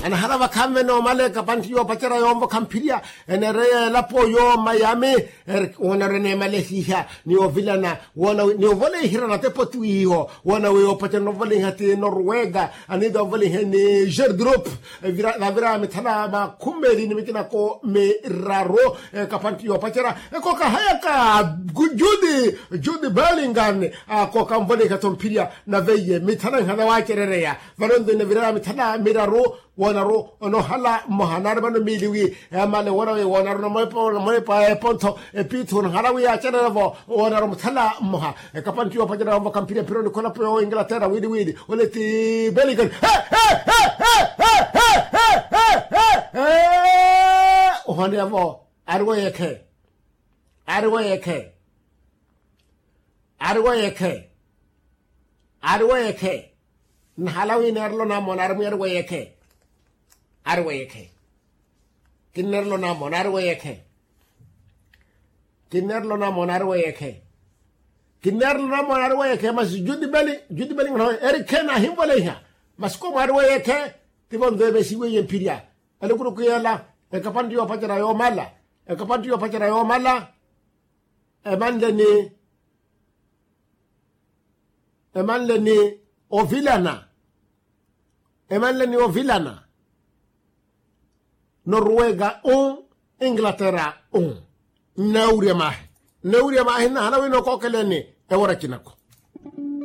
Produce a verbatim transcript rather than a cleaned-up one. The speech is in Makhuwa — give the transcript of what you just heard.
Anahala vakhanve noomala ekapantti yoopacerya yoomvokha mphirya, eneereya elapo yo mayami. Woona ori eneemalehiha ni ovilana woona ni ovoleihirana tepoti wiiho. Woona wi yoopacerya novolaiha ti noruwega, aniita ovolaiha ni jerdrup. Navira mithala makhumeli ni mikinako miraru. Ekapantti yoopacerya ekooka hayaka judi judi belingan. Akooka nvolaiha-tho mphirya nave iye mithala nhana waacerereya. Vano nto inaviraya mithala miraru. Woonaru onoohala mmoha naari vano miili wi yamale woona wi woonaru namoipa epontho epiithu onoohala wi yaacererya-vo. Woonaru muthala mmoha ekapantti yoopacerya yoomvokha mphirya mphironi kholapo yo inglaterra wiili wiili ole ti belingan. Ohoneya-vo ari weyekhe ari weyekhe ari weyekhe ari weyekhe. Nnahala wi neerelo namoona ari mwi ari weyekhe ari weyekhe. Kinneerelo namoona ari weyekhe kinneerelo namoona ari weyekhe kinneerelo namoona ari weyekhe masi judi beli judi beli ngano eri khe naahinvoleiha. Masi komo ari weyekhe tivo nto eveesiweiye mphirya. Elukuluku yeela ekapantti yoopacerya yoomala ekapantti yoopacerya yoomala. Emanle ni emanle ni ovilana emanle ni ovilana. Noruwega u inglaterra u nnaawurya maahi nnaawurya maahi nnahala wino okookeleni ewora cinako.